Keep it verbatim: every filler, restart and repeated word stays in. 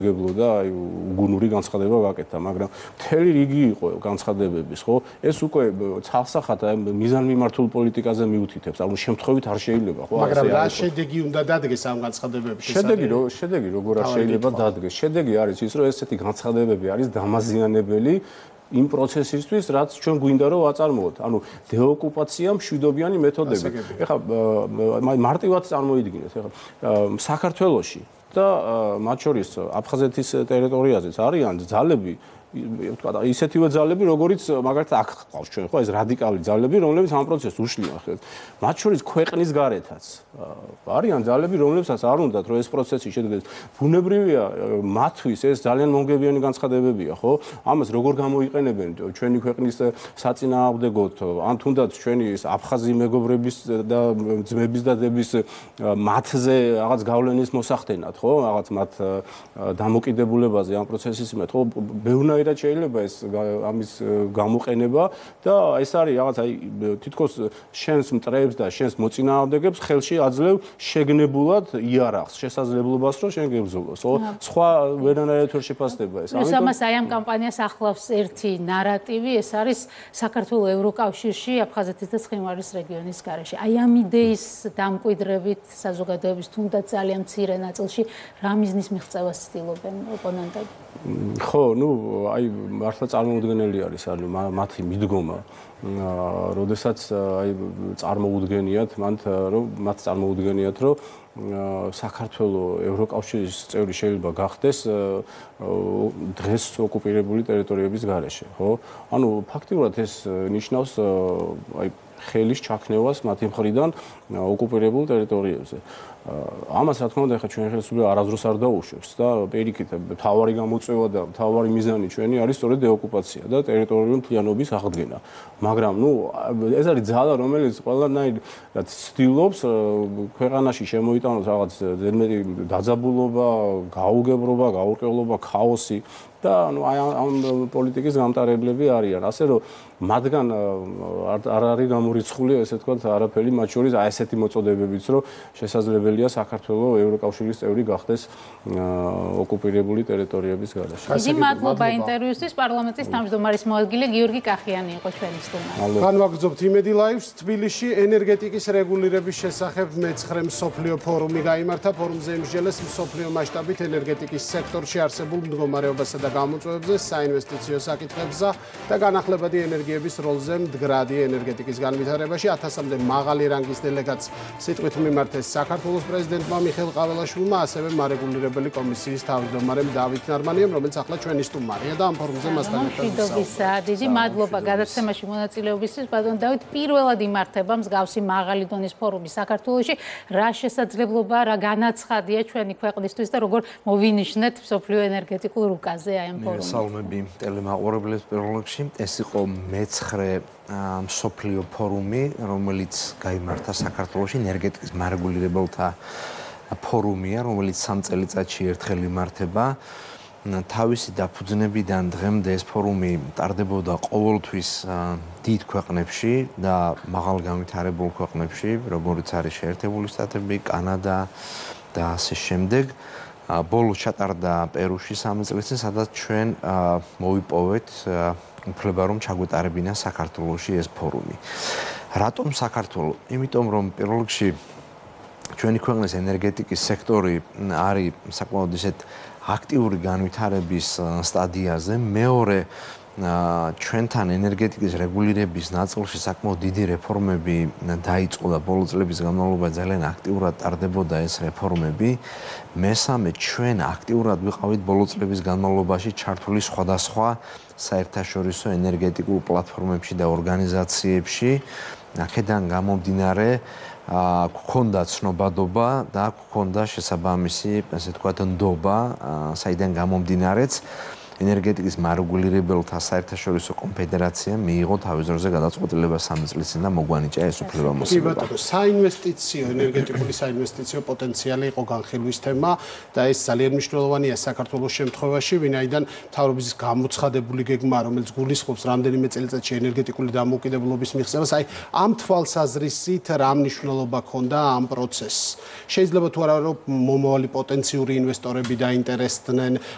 გებლოდა აი უგუნური განცხადება გაკეთა, მაგრამ მთელი რიგი იყო განცხადებების, ხო? ეს უკვე ცალსახად აი მიზანმიმართულ პოლიტიკაზე მიუთითებს, ანუ შემთხვევით არ შეიძლება, ხო? მაგრამ რა შედეგი უნდა დადგეს ამ განცხადებების? შედეგი რო შედეგი როგორ არ შეიძლება დადგეს? შედეგი არის ის, რომ ესეთი განცხადებები არის დამაზიანებელი იმ პროცესისთვის, რაც ჩვენ გვინდა რომ აწარმოოთ. ანუ დეოკუპაცია მშვიდობიანი მეთოდები. ეხლა მარტივად წარმოიდგინეთ, ეხლა საქართველოში და მათ შორის აფხაზეთის ტერიტორიაზეც არიან ძალები, ვთქვა, ისეთივე ძალები, როგორიც მაგალითად აქ ყავს ჩვენ, ხო, ეს რადიკალური ძალები, რომლებიც ამ პროცესს უშლიან ხელს. მათ შორის ქვეყნის გარეთაც არიან ძალები, რომლებსაც არ უნდათ, რომ ეს პროცესი შედგეს. ბუნებრივია, მათთვის ეს ძალიან მომგებიანი განცხადებებია, ხო? ამას როგორ გამოიყენებენ ჩვენი ქვეყნის საწინააღმდეგოდ, ან თუნდაც ჩვენი აფხაზი მეგობრების და ძმების და დების მათზე რაღაც გავლენის მოსახდენად, ხო? რაღაც მათ დამოკიდებულებაზე ამ პროცესის მიმართ, ხო? ბევრი რაც შეიძლება ეს ამის გამოყენება და ეს არის რაღაც აი თითქოს შენს მტრებს და შენს მოწინააღმდეგებს ხელში აძლევ შეგნებულად იარაღს, შესაძლებლობას რომ შენ გებრძოლოს, ხო? სხვა ვერანაირად ვერ შეფასდება ეს. ამიტომ ამას აი ამ კამპანიას ახლავს ერთი ნარატივი, ეს არის საქართველოს ევროკავშირში, აფხაზეთის და ცხინვალის რეგიონის გარეშე. აი ამ იდეის დამკვიდრებით საზოგადოების თუნდაც ძალიან მცირე ნაწილში რა მიზნის მიღწევას ცდილობენ ოპონენტები? ხო, ну აი მართლა წარმოუდგენელი არის ანუ მათი მიდგომა, როდესაც აი წარმოუდგენიათ მან რომ მათ წარმოუდგენიათ რომ საქართველოს ევროკავშირის წევრი შეიძლება გახდეს დღეს ოკუპირებული ტერიტორიების გარეშე, ხო? ანუ ფაქტიურად ეს ნიშნავს აი ხელის ჩაქნევას მათი მხრიდან ოკუპირებულ ტერიტორიებზე. ამას რა თქმა უნდა, ახლა ჩვენ ხელისუფლება არასდროს არ დაუშვებს და პირიქით, თავარი გამოწვევა და თავარი მიზანი ჩვენი არის სწორედ დეოკუპაცია და ტერიტორიული მთლიანობის აღდგენა. მაგრამ, ну, ეს არის ძალა, რომელიც ყველანაირად ცდილობს ქვეყანაში შემოიტანოს რაღაც ზედმეტი დაძაბულობა, გაუგებრობა, გაურკვევლობა, ქაოსი და ну აი ამ პოლიტიკის გამტარებლები არიან. ასე რომ მათგან არ არის გამორიცხული, ესე ვთქვათ, არაფერი მათ შორის აი ესეთი მოწოდებებიც, რომ შესაძლებელია საქართველოს ევროკავშირის წევრი გახდეს ოკუპირებული ტერიტორიების გარეშე. დიდი მადლობა ინტერვიუსთვის. პარლამენტის თავმჯდომარის მოადგილე გიორგი კახიანი იყო ჩვენი სტუმარი. განვაგრძობთ იმედი ლაივს. თბილისში ენერგეტიკის რეგულირების შესახებ მეცხრე მსოფლიო ფორუმი გაიმართა. ფორუმზე იმსჯელეს მსოფლიო მასშტაბით ენერგეტიკის სექტორში არსებულ მდგომარეობასა და გამოწვევებზე, საინვესტიციო საკითხებზე და განახლებადი ენერგიების როლზე მდგრადი ენერგეტიკის განვითარებაში. ათასამდე მაღალი რანგის დელეგატს სიტყვით მიმართეს საქართველოს პრეზიდენტმა მიხეილ ყაველაშვილმა, ასევე მარეგულირებელი კომისიის თავმჯდომარემ დავით ნარმანიამ, რომელიც ახლა ჩვენი სტუმარია და ამ ფორუმზე მასთან ერთად ვისაუბრებთ. დიდი მადლობა გადაცემაში მონაწილეობისთვის. ბატონ დავით, პირველად იმართება მსგავსი მაღალი დონის ფორუმი საქართველოში. რა შესაძლებლობა, რა განაცხადია ჩვენი ქვეყნისთვის და როგორ მოვინიშნეთ მსოფლიო ენერგეტიკულ რუკაზე აი ამ ფორუმში? სალამები ტელემაყურებლებს პირველ რიგში. ეს იყო მეცხრე მსოფლიო ფორუმი, რომელიც გაიმართა საქართველოში, ენერგეტიკის მარეგულირებელთა ფორუმია, რომელიც სამ წელიწადში ერთხელ იმართება. თავისი დაფუძნებიდან დღემდე ეს ფორუმი ტარდებოდა ყოველთვის დიდ ქვეყნებში და მაღალ განვითარებულ ქვეყნებში, როგორც არის შეერთებული შტატები, კანადა და ასე შემდეგ. ბოლოს ჩატარდა პერუში სამი წლის წინ, სადაც ჩვენ მოვიპოვეთ უფლება რომ ჩაგვეტარებინა საქართველოში ეს ფორუმი. რატომ საქართველო? იმიტომ რომ პირველ რიგში ჩვენი ქვეყნის ენერგეტიკის სექტორი არის საკმაოდ ისეთ აქტიური განვითარების სტადიაზე, მეორე ჩვენთან ენერგეტიკის რეგულირების ნაწილში საკმაოდ დიდი რეფორმები დაიწყო და ბოლო წლების განმავლობაში ძალიან აქტიურად ტარდებოდა ეს რეფორმები. მესამე, ჩვენ აქტიურად ვიყავით ბოლო წლების განმავლობაში ჩართული სხვადასხვა საერთაშორისო ენერგეტიკულ პლატფორმებში და ორგანიზაციებში. აქედან გამომდინარე გქონდა ცნობადობა და გქონდა შესაბამისი, ასე ვთქვათ, ნდობა, საიდან გამომდინარეც ენერგეტიკის მარეგულირებელთა საერთაშორისო კონფედერაციამ მიიღო თავის დროზე გადაწყვეტილება სამი წლის წინ და მოგვანიჭა ეს უფლება მოსავალ. კი ბატონო, საინვესტიციო, ენერგეტიკული საინვესტიციო პოტენციალი იყო განხილვის თემა და ეს ძალიან მნიშვნელოვანია საქართველოს შემთხვევაში, ვინაიდან მთავრობის გამოცხადებული გეგმა, რომელიც გულისხმობს რამდენიმე წელიწადში ენერგეტიკული დამოუკიდებლობის მიღწევას, აი ამ თვალსაზრისით რა მნიშვნელობა ჰქონდა ამ პროცესს. შეიძლება თუ არა რომ მომავალი პოტენციური ინვესტორები დაინტერესდნენ,